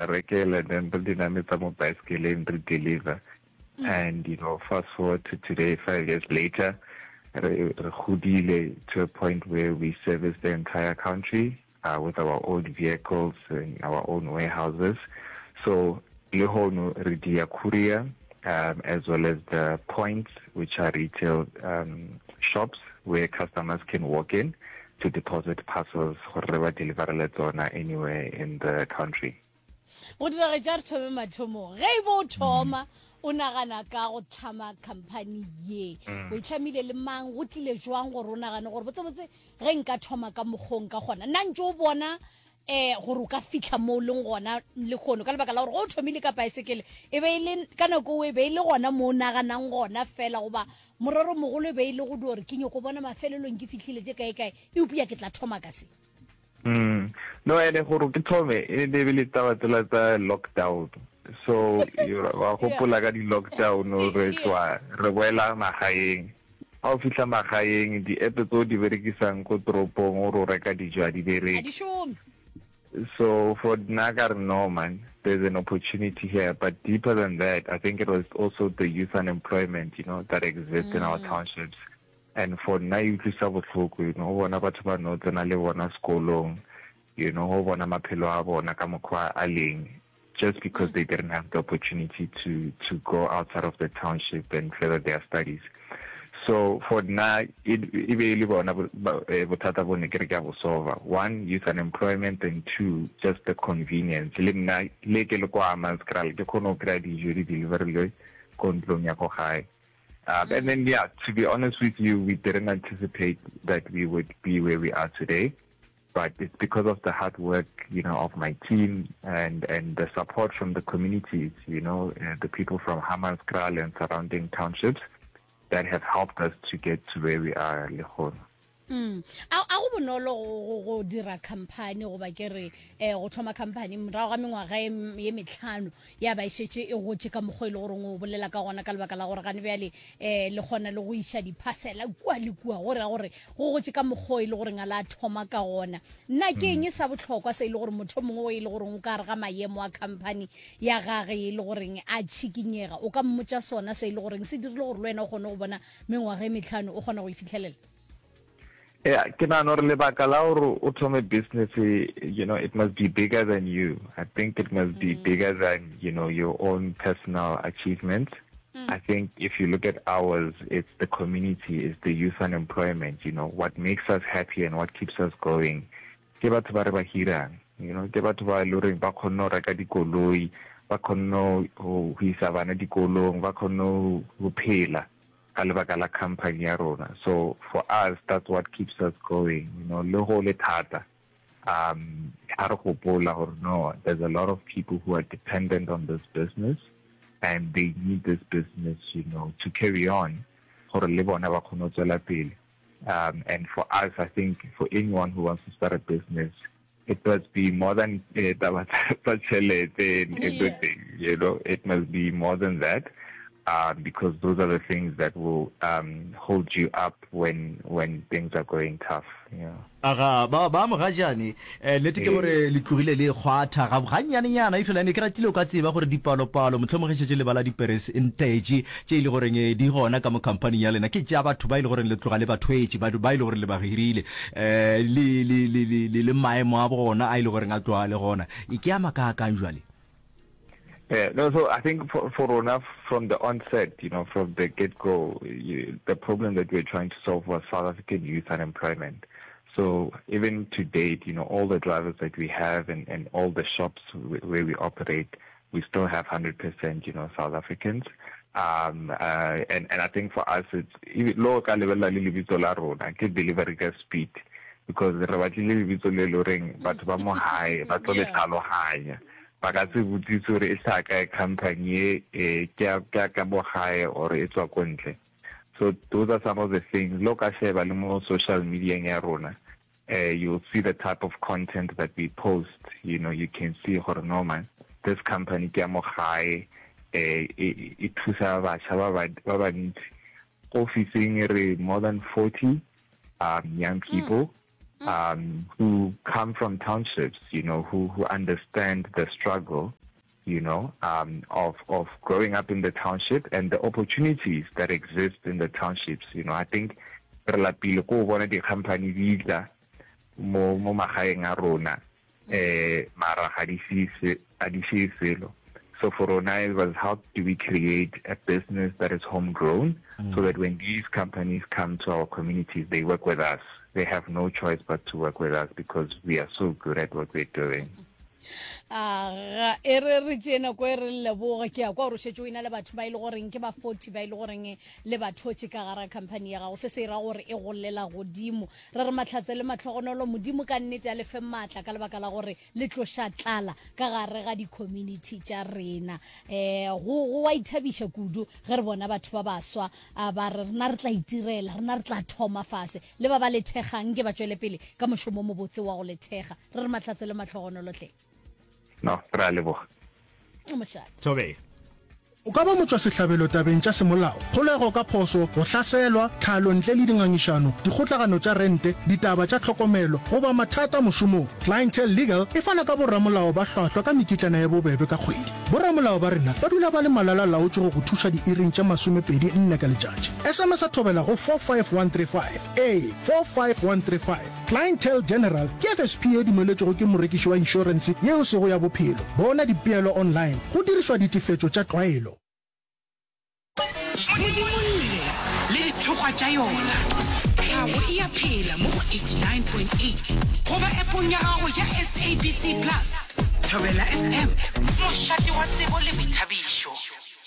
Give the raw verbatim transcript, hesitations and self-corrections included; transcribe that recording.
Rekela, then re di nametsa mo baesekeleng, re deliver. And you know fast forward to today, five years later, re re godile to a point where we service the entire country uh, with our own vehicles and our own warehouses. So lehono re dia courier um, as well as the points, which are retail um, shops where customers can walk in to deposit parcels gore re ba deliverele tsona anywhere in the country. Go diragetša re thome mathomong. Ge e bo o thoma o nagana ka go tlhama company ye, o itlhamile le mang? Go tlile jwang gore o nagane gore botsebotse ge nka thoma ka mokgong ka gona nna ntse o bona um gore o ka fitlha mo o leng gona le kgono, ka lebaka la gore go o thomile ka paesekele e be e le ka nako o e be e le gona mo o naganang gona fela, goba morero mogolo e be e le go di gore ke nyako bona mafelelong ke fitlhile tše kae kae, eupša ke tla thoma ka se? Mm. No, ene gore ke thome e ne be le taba tsela tsa lockdown. So you wa gopola ka di-lockdown, re tswa re boela magaeng. Ga o fitlha magaeng, di-app tse o di berekisang ko toropong o re o reka dijo a di a bereke. Di šome. So for nna ka re, no man, there's an opportunity here. But deeper than that, I think it was also the youth unemployment, you know, that exists in our townships. And for nna e utlwisa bohloko, you know, o bona batho ba no tsena le bona sekolong, you know, o bona maphelo a bona ka mokgwa a leng, just because they didn't have the opportunity to to go outside of the township and further their studies. So for nna e e be e le bona bo- ba- eh, bothata bo ne ke re ke a bo solva. One, youth unemployment, and two, just the convenience. Le nna le ke le kwa Hammanskraal ke kgone go kry-a dijo di deliverilwe ko ntlong ya ko gae. Um, and then, yeah, to be honest with you, we didn't anticipate that we would be where we are today. But it's because of the hard work, you know, of my team and, and the support from the communities, you know, uh, the people from Hammanskraal and surrounding townships that have helped us to get to where we are, lehono. Mm. a a go bonolo go- go go dira company, goba ke re um go thoma company morago ga mengwaga ye m- ye metlhano ya ba e šetše e gotše ka mokgwa e le goreng o bolela ka gona, ka lebaka la gore gane bjale um le kgona le go iša diphasela kua le kua, go raya gore go gotše ka mokgwa e le goreng a la thoma ka gona? Nna ke eng sa bohlokwa se e le gore motho o mongwe o e le goreng o ka gare ga maemo a company ya gage e le goreng a tšhikinyega o ka mmotša sona se e le goreng se dirile gore le wena o kgone go bona mengwaga e metlhano o kgona go e fitlhelela? Yeah, ke nahana gore lebaka la gore o thome business, eh, you know, it must be bigger than you. I think it must be bigger than, you know, your own personal achievements. I think if you look at ours, it's the community, it's the youth unemployment, you know, what makes us happy and what keeps us going. Ke batho ba re ba hirang, you know, ke batho ba e le horeng ba kgonne ho reka dikoloi, ba kgonne ho ho isa bana dikolong, ba kgonne ho ho phela ka lebaka la company ya rona. So for us, that's what keeps us going, you know, le go le thata. Um, ha re gopola gore no, there's a lot of people who are dependent on this business and they need this business, you know, to carry on gore le bona ba kgone ho tswela pele. Um, and for us, I think for anyone who wants to start a business, it must be more than eh, taba tsa tsa tjhelete and Yeah. everything, you know, it must be more than that. Um, because those are the things that will um, hold you up when when things are going tough. Yeah. Aga ba ba mogajane, um nnete ke Eh. gore le tlogile le kgwatha ga gannyanenyana, e fela ne ke ratile o ka tseba gore dipalopalo mohlomongwe ge šetše le bala diperesentage tše e le goreng eh, di gona ka mo companyng ya lena, ke tša batho ba e le goreng le tloga le ba thwetše, batho ba e le goreng le ba hirile, um le le le le le le maemo a bona a e le goreng a tloga le gona, e ke a makaakang jwale? Yeah, no, so I think for, for rona, from the onset, you know, from the get-go, you, the problem that we were trying to solve was South African youth unemployment. So even to date, you know, all the drivers that we have and, and all the shops wh- where we operate, we still have one hundred percent, you know, South Africans. Um, uh, and, and I think for us, it's, even lo ka lebella le lebitso la rona, ke delivery ka speed, because re batlile lebitso le le horeng batho ba mo hae ba tlo le Yeah. tlhalohanya, ba ka se botsise gore e hlaha kae company e, eh, ke ya ke ya ka mo gae or e tswa ko ntle. So those are some of the things. Lo ka sheba le mo social media ya rona, uh, you'll see the type of content that we post. You know, you can see gore no man, this company ke ya mo gae, eh, e e thusa batjha ba ba ba bantsi. Ofising re more than forty um, young people. um, who come from townships, you know, who, who understand the struggle, you know, um, of, of growing up in the township and the opportunities that exist in the townships. You know, I think re lapile ko bona di-company di tla mo mo magaeng a rona eh mara ga di šie selo. So for rona it was, how do we create a business that is homegrown mm. so that when these companies come to our communities, they work with us. They have no choice but to work with us because we are so good at what we're doing. Aga, e re re tšee nako e re leboge. Ke ya kwa gore o šetše o ena le batho ba e le goreng ke ba forty ba e le goreng le ba thotše ka gara company ya gago. Se se ra gore e golela godimo. Re re mahlatse le mahlogonolo, Modimo ka nnete a le fe maatla ka lebaka la gore le tloša tlala ka gare ga di-community tša rena. Um go go wa ithabiša kudu ge re bona batho ba baswa ba re rena re tla itirela, rena re tla thoma fase, le ba ba le thekgang nke ba tšwele pele ka mošomo o mobotse wa go le thekga. Re re mahlatse le mahlogonolo hle. No, re a leboga. Mošate. Thobela. O ka ba motšwasehlabelo tabeng tša semolao, kgolego ka phošo, go hlaselwa, tlhalo ntle le dingangišano, dikgotlagano tša rente, ditaba tša tlhokomelo, goba mathata mošomong. Clientele Legal e fana ka boramolao ba hlwahlwa ka mekitlana ye bobebe ka kgwedi. Boramolao ba rena ba dula ba le malala-laotšwe go go thuša diiring tše masomepedi nne ka letšatši. S M S Thobela go four five one three five. Ee, four five one three five. Clientele General ke F S P ye dumeletšwego ke morekiši wa inšorense yeo e sego ya bophelo. Bona dipeelo online go dirišwa ditefetšo tša tlwaelo. Modimolle le dithokgwa tša yona. Tlhago e a phela mo go eighty-nine point eight goba appong ya gago ya S A B C Plus. Thobela F M, mošate wa tsebo le boithabišo.